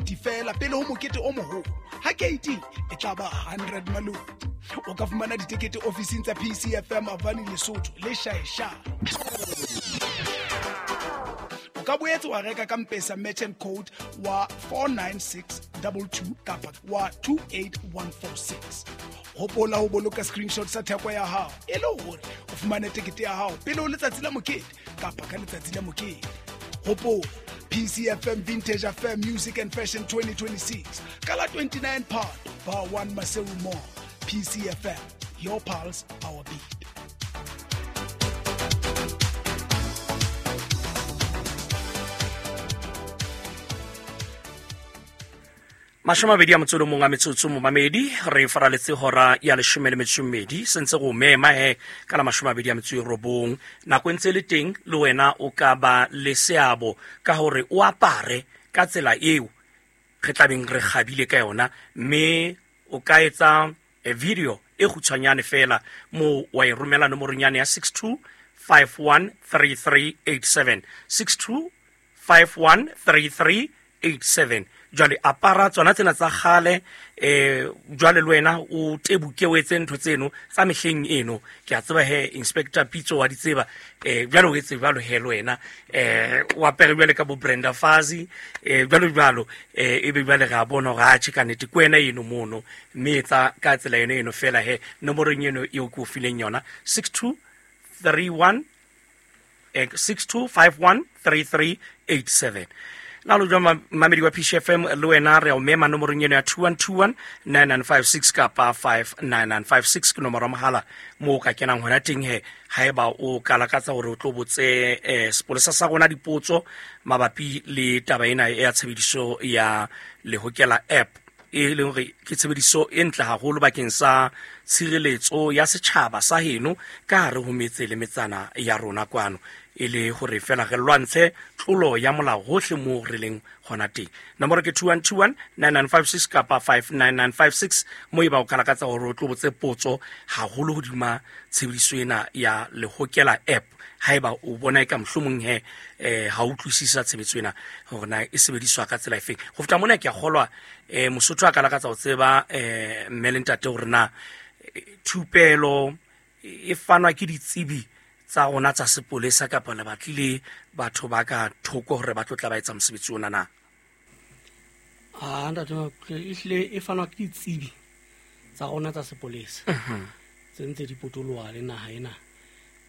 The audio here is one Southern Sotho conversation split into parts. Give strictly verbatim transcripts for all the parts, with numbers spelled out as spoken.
fifty feela pele ho mokete o moholo. Ha keiting e tla ba hundred maloti. O ka fumana ditekete ofising tsa P C F M Avani Lesotho le Shaesha. O ka boetse wa reka ka M-Pesa merchant code wa four nine six two two kapa wa two eight one four six. Hopola ho boloka screenshot sa theko ya hao e le hore o fumane tekete ya hao pele ho letsatsi la mokete kapa ka letsatsi la mokete. Hopola P C F M Vintage Affair Music and Fashion twenty twenty-six ka la twenty-nine Phato Bar one Maseru Mall. P C F M, your pulse, our beat. Mashome a mabedi a motso o le mong a metsotso momamedi re faraletse hora ya leshome le metso e mmedi sentse go mema he ka la mashome a mabedi a metso e robong nako e ntse le teng le wena o ka ba le seabo ka hore o apare ka tsela eo re tlabeng re kgabile ka yona mme o ka etsa video e kgutshwanyane fela mo wa e romela nomorong yane ya six two five one three three eight seven six two five one three three eight seven. Jwale apara tsona tsena tsa kgale eh jwale le wena o tebuke o etse ntho tseno tsa mehleng eno ke a tseba he Inspector Pitso wa di tseba eh jwale o etse jwalo he le wena eh o apere jwale ka bo Brenda Fassie eh jwalo jwalo eh ebe jwale re a bona hore a tjhe ka nnete ke wena eno mono mme etsa ka tsela eno eno fela he nomorong eno eo ke o fileng yona six two three one six two five one three three eight seven. Na lo jwa mamedi wa P C F M le wena re o mema nomorong eno ya two one two one nine nine five six kapa five nine nine five six ke nomoro ya mohala mo o ka kenang hona teng he haeba o ka lakatsa hore o tlo botse eh sepolesa sa rona dipotso mabapi le taba ena ya tshebediso ya Lehokela app e leng hore ke tshebediso e ntle haholo bakeng sa tshireletso ya setjhaba sa heno ka hare ho metse le metsana ya rona kwano e le hore fela re lwantshe tlolo ya molao hohle moo re leng hona teng. Nomoro ke two one two one nine nine five six kapa five nine nine five six mo e ba o ka lakatsa hore o tlo botse potso haholo hodima tshebediso ena ya Lehokela app haeba o bona e ka mohlomong he eh ha utlwisisa tshebetso ena hore na e sebediswa ka tsela efeng. Ho feta mona ke a kgolwa eh Mosotho a ka lakatsa ho tseba eh mme le ntate hore na thupelo e fanwa ke ditsebi tsa rona tsa sepolesa kapa le batlile batho ba ka thoko hore ba tlo tla ba etsa mosebetsi ona na? Ah ntate ehlile e fanwa ke ditsebi tsa rona tsa sepolesa tse ntse di potoloha le naha ena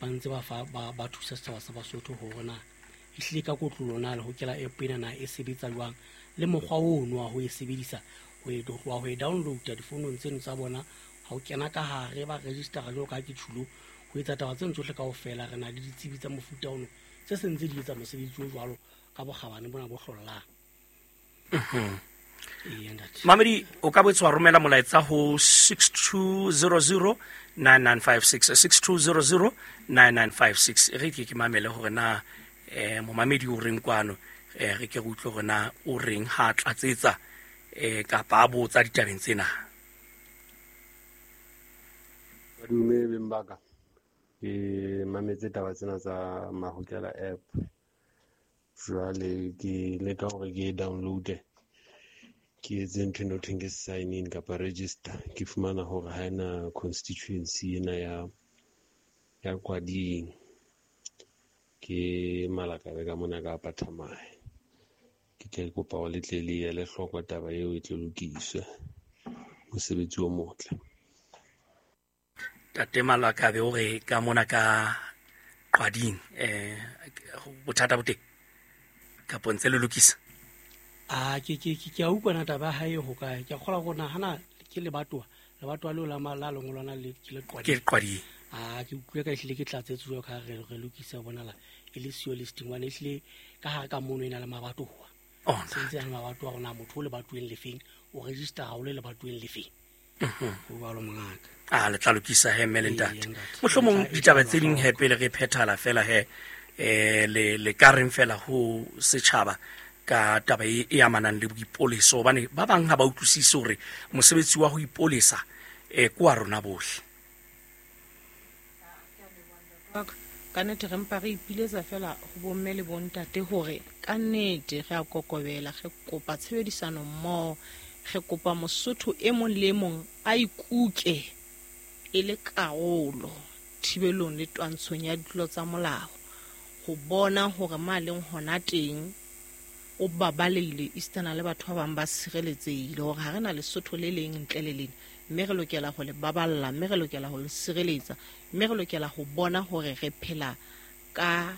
ba ntse ba fa ba ba thusa setjhaba sa Basotho hore na ehlile ka kotlolo na Lehokela app ena na e sebetsa jwang le mokgwa ono wa ho e sebedisa ho e ho e download difounong tseno tsa bona ha o kena ka hare ba register jwalo ka ke tjhulo ho etsa taba tseno tsohle kaofela. Re na le ditsebi tsa mofuta ono tse sentse di etsa mosebetsi o jwalo ka bokgabane bona bo hlollang. Mamedi o ka boetse wa romela molaetsa ho six two zero zero nine nine five six six two zero zero nine nine five six. Re ke ke mamele hore na eh momamedi o reng kwano eh re ke re utlwe hore na o reng ha tlatsetsa eh kapa a botsa ditabeng tsena. Madume beng ba ka, ke mametse taba tsena tsa Mahokela app. Jwale ke leka hore ke download-e ke etse ntho eno thweng ke sign in kapa register. Ke fumana hore ha ena constituency ena ya ya Kwading. Ke Malakabe ka mona ka Pathamae. Ke tle kopa hore le tle le ele hloko taba eo e tle lokiswe. Mosebetsi o motle. Tate Malakabe o re ka mona ka Kwading eh bothata bo teng kapa ntse le lokisa? Ah ke ke ke a utlwa na taba ha e ho kae. Ke a kgolwa hore nahana ke lebatowa lebatowa leo la la lengolwana le ke le Qwading. Ke Qwading. Ah ke utlwe ka ehlile ke tlatsetse jwalo ka re re lokisa bonala e le siyo listing one ehlile ka hare ka mono e na le mabatowa. Oh sentse ya mabatowa rona motho o lebatoweng lefeng o register ha o le lebatoweng lefeng. Mhm. A le tla lokisa he mme le ntate. Mohlomong ditaba tse ding he pele re phethala fela he eh le le ka reng fela ho setjhaba ka taba e e amanang le boipoleso hobane ba bang ha ba utlwisise hore mosebetsi wa ho ipolesa eh kwa rona bohle. Ka nnete re mpa re ipiletsa fela ho bomme le bontate hore ka nnete re a kokobela, re kopa tshebedisano mmoho, re kopa Mosotho e mong le e mong a ikuke e le karolo thibelong le twantshong ya ditlolo tsa molao, ho bona hore ma leng hona teng o babaleile esitana le batho ba bang ba sireletsehile, hore ha re na Lesotho le leng ntle le lena, mme re lokela ho le baballa, mme re lokela ho le sireletsa, mme re lokela ho bona hore re phela ka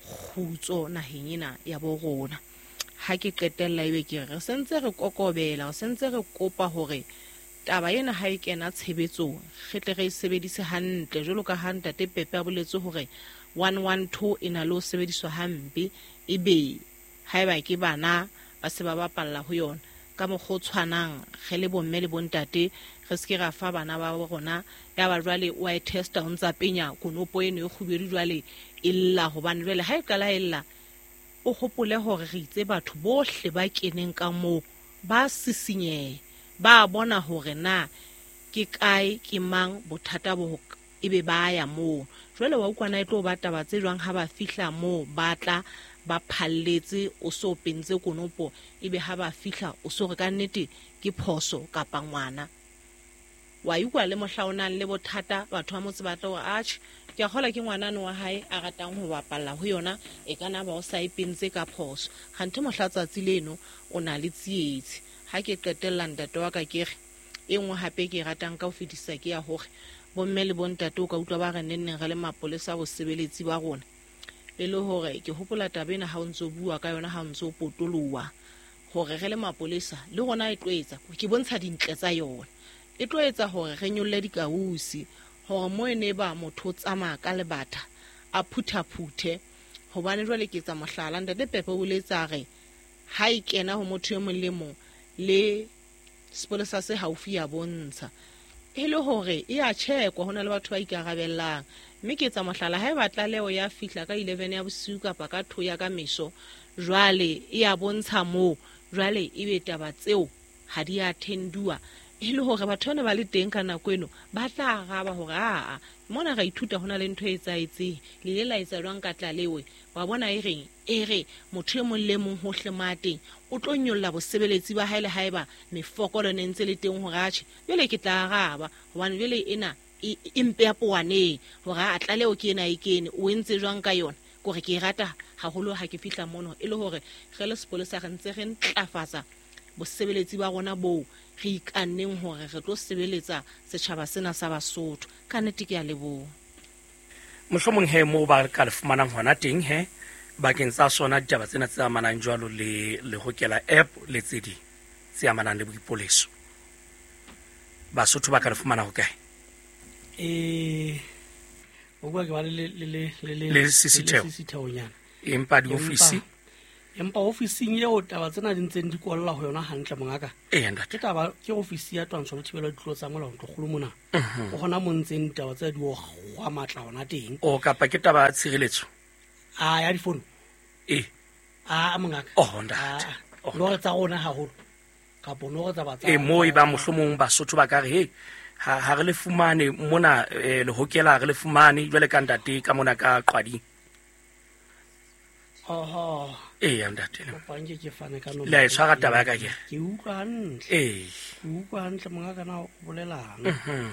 kgutso naheng ena ya bo rona. Ha ke qetella ebe ke re re sentse re kokobela, re sentse re kopa hore taba ena ha e kena tshebetsong re tle re e sebedise hantle, jwalo ka ha ntate Pepe a boletse hore one one two e na le ho sebediswa hampe, ebe haeba ke bana ba se ba bapalla ho yona. Ka mokgwa o tshwanang re le bomme le bontate re se ke ra fa bana ba rona ya ba jwale o a e testa o ntsa penya konopo eno e kgubedu jwale e lla, hobane jwale ha e qala e lla o hopole hore re itse batho bohle ba keneng ka moo ba sisinyehe, ba bona hore na ke kae ke mang bothata bo ebe ba ya moo. Jwale wa utlwana e tlo ba taba tse jwang ha ba fihla moo ba tla ba phalletse o so pentse konopo, ebe ha ba fihla o so re ka nnete ke phoso kapa ngwana. Wa utlwa le mohla o nang le bothata batho ba motse ba tla hore atjhe ke a kgola ke ngwanano wa hae a ratang ho bapalla ho yona, e ka na ba o sa e pentse ka phoso, kganthe mohla tsatsi leno o na le tsietsi. Ha ke qetella ntate wa ka ke re e nngwe hape ke e ratang ka ho fetisa ke ya hore bomme le bontate o ka utlwa ba re nenneng re le mapolesa bosebeletsi ba rona, e le hore ke hopola taba ena ha o ntso bua ka yona ha o ntso potoloha hore re le mapolesa le rona e tlo etsa ke bontsha dintle tsa yona, e tlo etsa hore re nyolle dikausi hore mo e ne ba motho o tsamaya ka lebata a phuthaphuthe. Hobane jwale ke etsa mohlala, ntate Pepe o boletse re ha e kena ho motho e mong le mong le sepolesa se haufi ya bontsha e le hore e a checkwa, hona le batho ba ikarabellang. Mme ke etsa mohlala, ha e ba tlaleho ya fihla ka eleven ya bosiu kapa ka two ya ka meso, jwale e a bontsha moo, jwale ebe taba tseo ha di a thenduwa, e le hore batho bana ba le teng ka nako eno ba tla araba hore aa mona ra ithuta hona le ntho e etsahetseng, le ile la etsa jwang ka tlaleho. Wa bona e reng e re motho e mong le mong hohle ma teng o tlo nyolla bosebeletsi ba hae le haeba mefokolo ne ntse le teng hore atjhe jwale ke tla araba, hobane jwale ena e mpe ya powaneng hore a tlaleho ke ena e kene o entse jwang ka yona. Kore ke e rata haholo ha ke fihla mono, e le hore re le sepolesa re ntse re ntlafatsa bosebeletsi ba rona boo re ikanneng hore re tlo sebeletsa setjhaba sena sa Basotho. Ka nnete ke a leboha. Mohlomong he moo ba ka le fumanang hona teng he bakeng tsa sona ditaba tsena tse amanang jwalo le le hokela app le tse ding tse amanang le boipoleso, Basotho ba ka le fumana hokae? Eh o bua ke ba le le le le le sisitheo sisitheonyana, empa diofisi empa ofising eo taba tsena di ntseng di kwalla ho yona hantle mongaka. Ee ntate, ke taba ke ofisi ya twantsho le thibelo ya ditlolo tsa molao ntlokgolo mona, o hona mo ntseng ditaba tse di o kgwa matla hona teng. O kapa ke taba ya tshireletso a ya difono? Ee a mongaka. Oh ntate, no re tsa rona haholo kapa no re tsa ba tsa e mo e ba mohlomong Basotho ba ka re he ha ha re le fumane mona le hokela re le fumane jwale ka ntate ka mona ka Qwading. Oho. Ee ntate, kopa nke ke fane ka nomoro. Le a e tshwara taba ya ka ke? Ke utlwa hantle. Ee. Ke utlwa hantle mongaka na o bolelang. Mhm.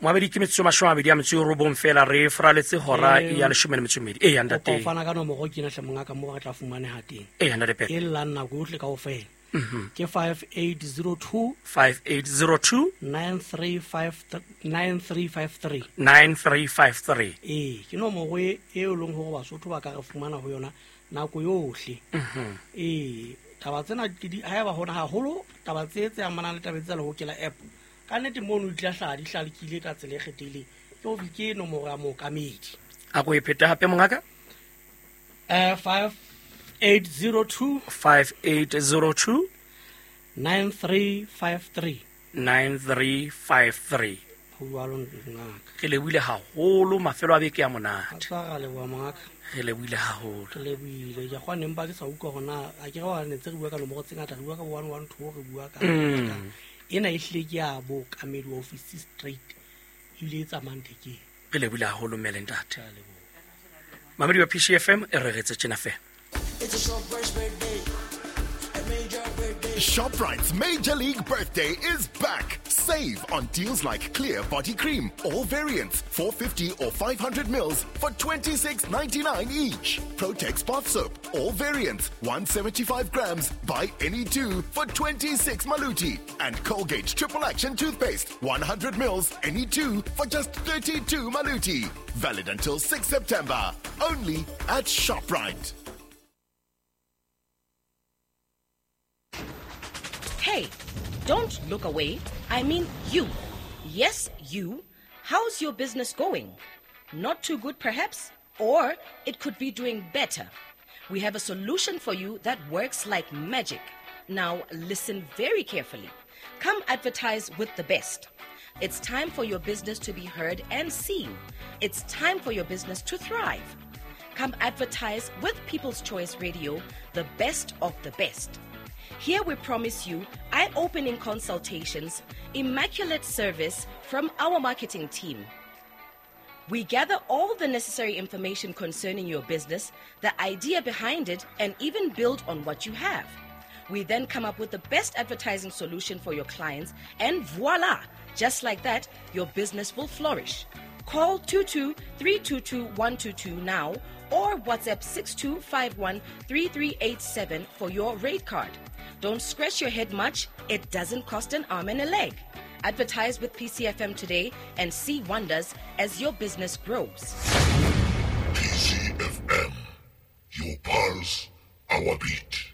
Moabedi ke metsotso mashome a mabedi a metso e robong fela re fraletse hora ya leshome le metso e mmedi. Ee ntate. Kopa o fana ka nomoro ke ena hle mongaka moo re tla fumaneha teng. Ee ntate Pepe. E llang nako yohle kaofela. Mhm. Ke five eight zero two five eight zero two nine three five nine three five three nine three five three. Ee, ke nomoro e e leng hore Basotho ba ka re fumana ho yona nako yohle. Mhm. Ee, taba tsena ke di haeba hona haholo taba tse tse amanang le taba tsa lehokela app. Ka nnete mono di tla hlaha di hlalekile ka tsela e kgethehileng. Ke ho ke nomoro ya mookamedi. A ko e phete hape mongaka? Eh five eight zero two five eight zero two nine three five three nine three five three. Ho jwalo ngaka. Re lebohile haholo, mafelo a beke a monate. A tshwara leboha mongaka. Re lebohile haholo. Re lebohile. Ke a kgona empa ke sa utlwa hore na a ke re wa ne ntse re bua ka nomoro tse ngata, re bua ka one one two, re bua ka Mm. ena e hlile ke ya bookamedi wa ofisi straight ebile e tsamayang thekeng. Re lebohile haholo mme le ntate. Mamedi wa P C F M e re retse tjena fela. It's a ShopRite's birthday. A major birthday. ShopRite's Major League Birthday is back. Save on deals like Clear Body Cream, all variants, four fifty or five hundred mils for twenty-six ninety-nine each. Protex Bath Soap, all variants, one seventy-five grams, buy any two for twenty-six maluti. And Colgate Triple Action Toothpaste, one hundred mils, any two for just thirty-two maluti. Valid until sixth September. Only at ShopRite. Hey, don't look away. I mean you. Yes, you. How's your business going? Not too good, perhaps? Or it could be doing better. We have a solution for you that works like magic. Now, listen very carefully. Come advertise with the best. It's time for your business to be heard and seen. It's time for your business to thrive. Come advertise with People's Choice Radio, the best of the best. Here we promise you eye-opening consultations, immaculate service from our marketing team. We gather all the necessary information concerning your business, the idea behind it, and even build on what you have. We then come up with the best advertising solution for your clients, and voila! Just like that, your business will flourish. Call two two three two two one two two now or WhatsApp six two five one three three eight seven for your rate card. Don't scratch your head much. It doesn't cost an arm and a leg. Advertise with P C F M today and see wonders as your business grows. P C F M, your pulse, our beat.